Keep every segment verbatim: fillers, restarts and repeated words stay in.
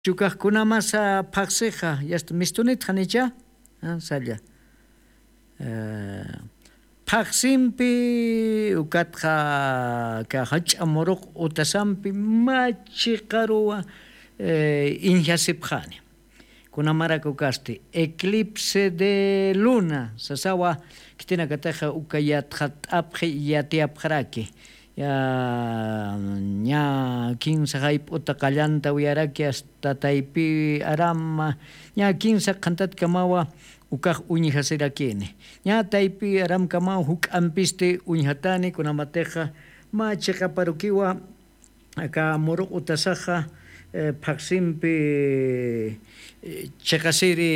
Chukax kunamasa phaqsixa yasta mistunit janicha. Salla. Phaqsimpi ukatxa ka jach'a muruq utasampi machiqaruwa iñjasipxani. Kunamarak ukasti eclipse de luna sasawa, khitinakataxa uka yatxat'apxi yatiyapxaraki. Ya ña kinsa jayp'uta qallanta uyaraki asta taypi arama ña kinsa qhantatkamawa ukax uñjasirakini. Ña taypi aramkamaw juk'ampisti uñjatani kunamatixa mä chiqaparukiwa aka muruq utasaxa phaqsimpi chiqasiri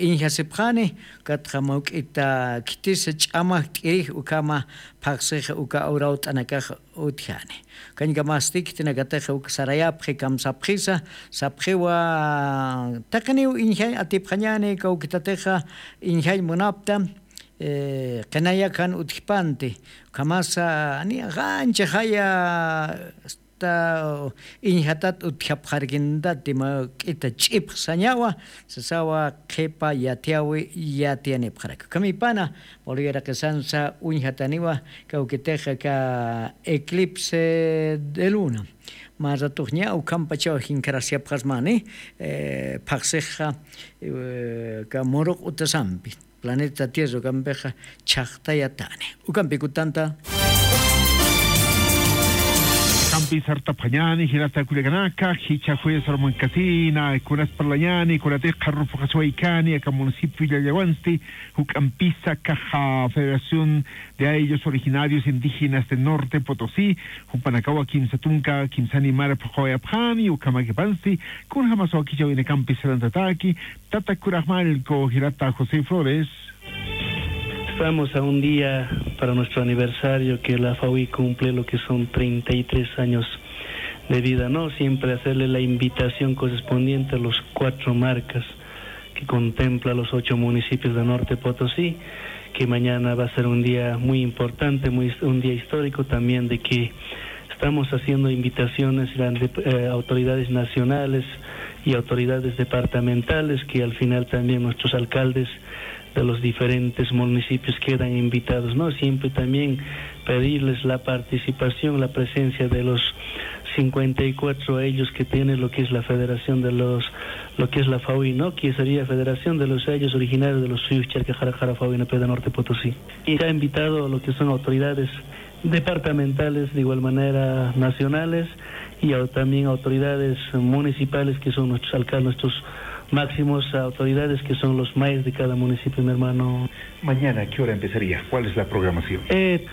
iñjasipxani. Katxa mawk'ita khitisa ch'amax k'irix ukhama phaqsixa uka awrawt'anakax utjani. Kañkamasti khitinakataxa uk sarayapxi kamsapxisa sapxiwa taqiniw iñjañ atipxañani kawkitatixa iñjañ munapta. Qinayakan utjpanti ukhamasa niya qanchixaya asta iñjatat utjapxarkintati mawk'ita ch'ipxsañawa sasawa qhipa yatiyawi yatiyanipxaraki ukhamipana. Pawluyaraqisansa uñjataniwa kawkitixa ka eclipse de luna mä ratuxña ukhampachaw jinkarasiyapxasmani. Phaqsixa ka muruq utasampi planeta tierra ukampixa chhaqtayatani. Ukampikutanta kampi sartapxañani jirata kullakanaka jicha juez armankasina kunas parlañani kunatix qharrupxaswaykani aka municipio llallawansti juk'ampisa kaxa federación de ayllos originarios indígenas de norte potosí jupanakawa kimsa tunka kimsa animar phuqawayapxani ukhamakipansti kunjamasawakichawinakampi sarantataki. Tata kuraxmallku jirata josé flores. Estamos a un día para nuestro aniversario que la fawi cumple lo que son treinta y tres años de vida no siempre hacerle la invitación correspondiente a los cuatro marcas que contempla los ocho municipios de norte potosí, que mañana va a ser un día muy importante muy un día histórico también de que estamos haciendo invitaciones a autoridades nacionales y autoridades departamentales que al final también nuestros alcaldes de los diferentes municipios quedan invitados no siempre también pedirles la participación la presencia de los cincuenta y cuatro ellos que tiene lo que es la federación de los lo que es la fawi no que sería federación de los ellos originarios de los suyos charcajarajara fawi no peda norte potosí y ha invitado lo que son autoridades departamentales de igual manera nacionales y también autoridades municipales que son nuestros alcaldes nuestros máximos autoridades que son los maes de cada municipio mi hermano. Mañana qué hora empezaría cuál es la programación?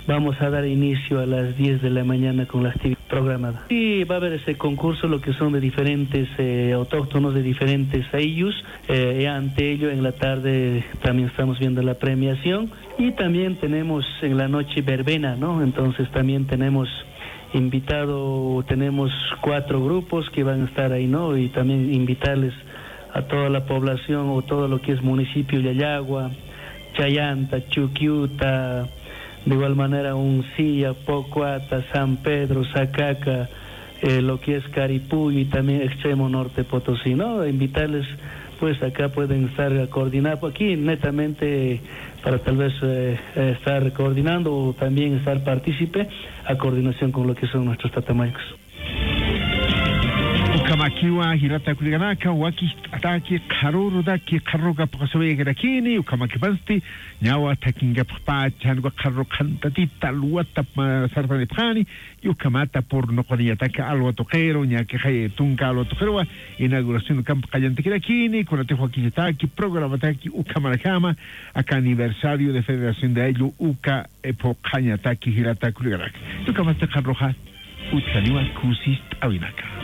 Vamos a dar inicio a las diez de la mañana con la actividad programada y va a haber ese concurso lo que son de diferentes autóctonos de diferentes ayllus. Ante ello en la tarde también estamos viendo la premiación y también tenemos en la noche verbena no entonces también tenemos invitado tenemos cuatro grupos que van a estar ahí no y también invitarles a toda la población o todo lo que es municipio llallagua, chayanta, chuquiuta, de igual manera uncilla, pocuata, san pedro, sacaca, lo que es caripuyo y también extremo norte potosí no invitarles. Pues acá pueden estar coordinados aquí netamente para tal vez estar coordinando o también estar partícipe a coordinación con lo que son nuestros tatamañcos. Ukhamakiwa jirata kullakanaka wakicht'ataki qharurutaki qharuruka phuqasiwaykarakini ukhamakipansti. Ñawa thakinkapxpa chanwa qharuruqhantatita luwata sartanipxani. Yukhamata purnuquniñataki alwa tuqiru ñakixay tunka alwa tuqiruwa inauguración ukampi qallantakirakini kunatix wakichataki programataki ukhamarajama. Aka aniversario de federación de ayllu uka phuqhañataki jirata kullakanaka. Yukhamata qharruxa utjaniwa kusist'awinaka.